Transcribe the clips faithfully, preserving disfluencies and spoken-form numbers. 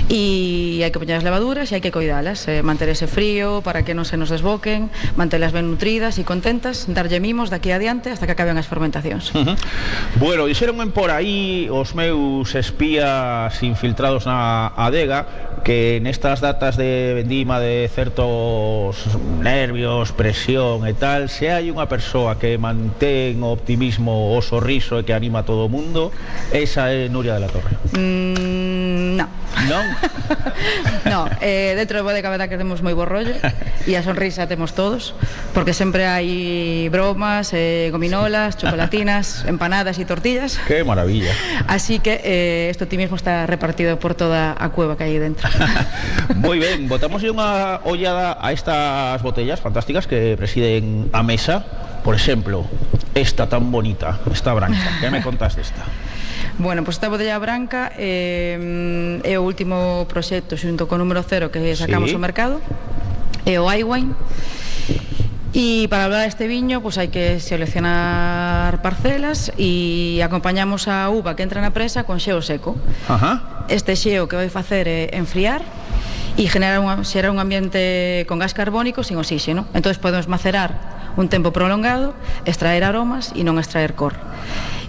e hai que poñer as levaduras e hai que coidalas, eh, manter ese frío para que non se nos desboquen, mantelas ben nutridas e contentas, darlle mimos daqui adiante hasta que acaben as fermentacións. Uh -huh. Bueno, dixeronme por aí os meus espías infiltrados na adega que nestas datas de vendima de certos nervios, presión e tal, se hai unha persoa que mantén o optimismo, o sorriso e que anima a todo o mundo, esa é Nuria de la Torre. Mm, no. Non? No, eh, dentro de bodega verdad que temos moi bo rollo e a sonrisa temos todos, porque sempre hai bromas, eh, gominolas, chocolatinas, empanadas e tortillas. Que maravilla. Así que eh, este optimismo está repartido por toda a cueva que hai dentro. Moi ben, botamos unha ollada a estas botellas fantásticas que presiden a mesa. Por exemplo, esta tan bonita, esta branca. Que me contas desta? Bueno, pois pues esta botella branca eh, é o último proxecto xunto co número cero que sacamos sí. ao mercado, é o iWine. E para hablar deste viño, pois hai que seleccionar parcelas e acompañamos a uva que entra na presa con xeo seco. Ajá. Este xeo que vai facer é enfriar e generar un, xerar un ambiente con gas carbónico sin oxígeno. Entón podemos macerar un tempo prolongado, extraer aromas e non extraer cor.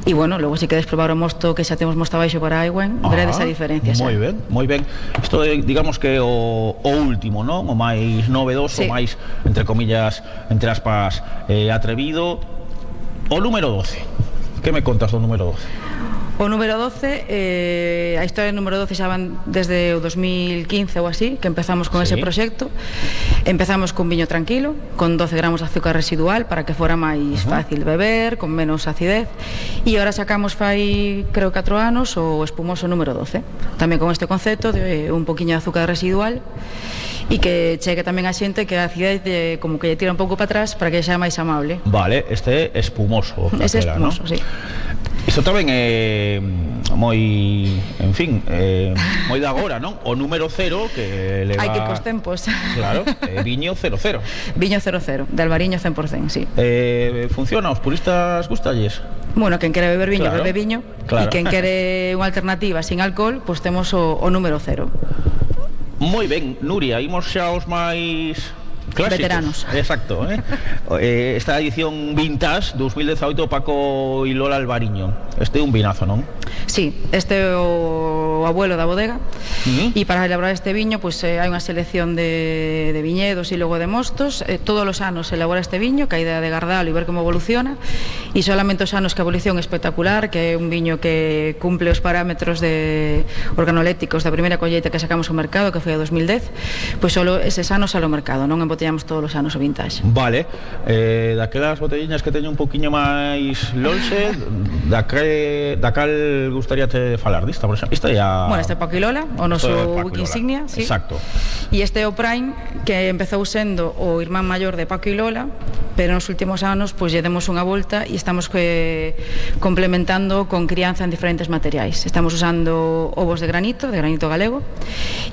E bueno, logo se queres probar o mosto que xa temos mosto abaixo para iWine, veredes a diferencia. Moi ben, moi ben. Isto é, digamos que o, o último, non? O máis novedoso, sí. O máis, entre comillas, entre aspas, eh, atrevido. O número doce. Que me contas do número doce? O número doce, eh, a historia do número doce xa van desde o dos mil quince ou así, que empezamos con sí. ese proxecto. Empezamos con viño tranquilo, con doce gramos de azúcar residual para que fora máis uh -huh. fácil beber, con menos acidez. E agora sacamos fai, creo, catro anos o espumoso número doce, tamén con este concepto de un poquinho de azúcar residual e que chegue tamén a xente que a acidez de, como que lle tira un pouco para atrás para que xa máis amable. Vale, este é espumoso. Ese é espumoso, ¿no? Sí. Isto tamén é moi, en fin, eh, moi de agora, non? O número cero que leva... Hai que ir cos tempos. Claro, eh, viño cero cero. Viño cero cero, de Albariño cen por cen, sí. Eh, funciona, os puristas gustalles? Bueno, quen quere beber viño, claro, bebe viño. Claro. E quen quere unha alternativa sin alcohol, pois pues temos o, o número cero. Moi ben, Nuria, imos xa aos máis... clásicos. Veteranos. Exacto, eh? eh, esta edición vintage dos mil dezaoito, Paco e Lola Albariño. Este é un vinazo, non? Sí, este é o abuelo da bodega. Uh -huh. E para elaborar este viño, pois pues, eh, hai unha selección de, de viñedos e logo de mostos. eh, Todos os anos se elabora este viño, que a idea de gardalo e ver como evoluciona. E solamente os anos que a evolución é espectacular, que é un viño que cumple os parámetros de organolécticos da primeira colleita que sacamos ao mercado, que foi a dos mil dez. Pois pues solo eses anos ao mercado, non embotellamos todos os anos o vintage. Vale, eh, daquelas botelliñas que teñen un poquinho máis lonxe, da, que, da cal gustaría te falar dista, por exemplo? Esta ya... Bueno, este é Paco e Lola, o noso wiki insignia, sí. Exacto. E este é o Prime, que empezou sendo o irmán maior de Paco e Lola, pero nos últimos anos pois lle demos unha volta e estamos que, complementando con crianza en diferentes materiais. Estamos usando ovos de granito, de granito galego,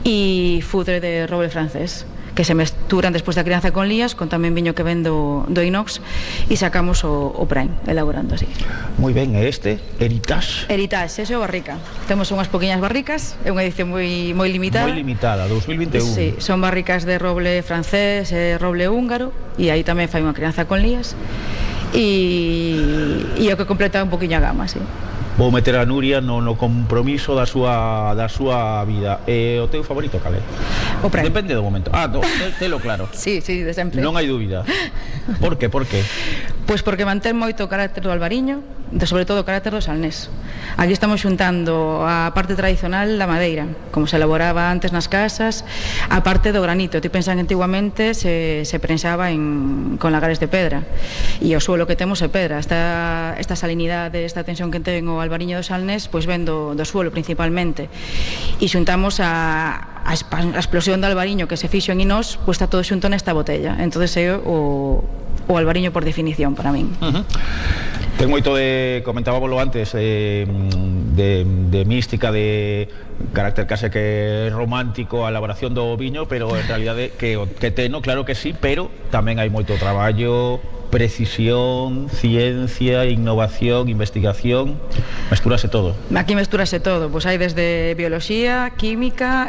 e fudre de roble francés, que se mesturan despois da crianza con lías, con tamén viño que ven do, do inox, e sacamos o, o Prime, elaborando así. Moi ben, e este, Heritage? Heritage, ese é o barrica. Temos unhas poquinhas barricas, é unha edición moi, moi limitada. Moi limitada, dos mil vinte e un. Sí, son barricas de roble francés e roble húngaro, e aí tamén fai unha crianza con lías, e, e o que completa un poquinho a gama, sí. Vou meter a Nuria no, no compromiso da súa, da súa vida. E o teu favorito, cal é? O Prime. Depende do momento. Ah, no, telo claro. Sí, sí, de sempre. Non hai dúbida. Por que, por que? Pois porque mantén moito o carácter do albariño, de sobre todo o carácter do salnés. Aquí estamos xuntando a parte tradicional da madeira, como se elaboraba antes nas casas, a parte do granito. Ti pensan que antiguamente se, se prensaba en, con lagares de pedra, e o suelo que temos é pedra. Esta, esta salinidade, esta tensión que ten o albariño do salnés, pois ven do, do suelo principalmente, e xuntamos a, a, a explosión do albariño que se fixo en Inós, pois está todo xunto nesta botella. Entón é o, o albariño por definición para min. Uh -huh. Ten moito de, comentábalo antes, eh, de, de mística, de carácter case que romántico a elaboración do viño, pero en realidade que, que teno, claro que sí, pero tamén hai moito traballo, precisión, ciencia, innovación, investigación, mestúrase todo. Aquí mestúrase todo, pois hai desde bioloxía, química,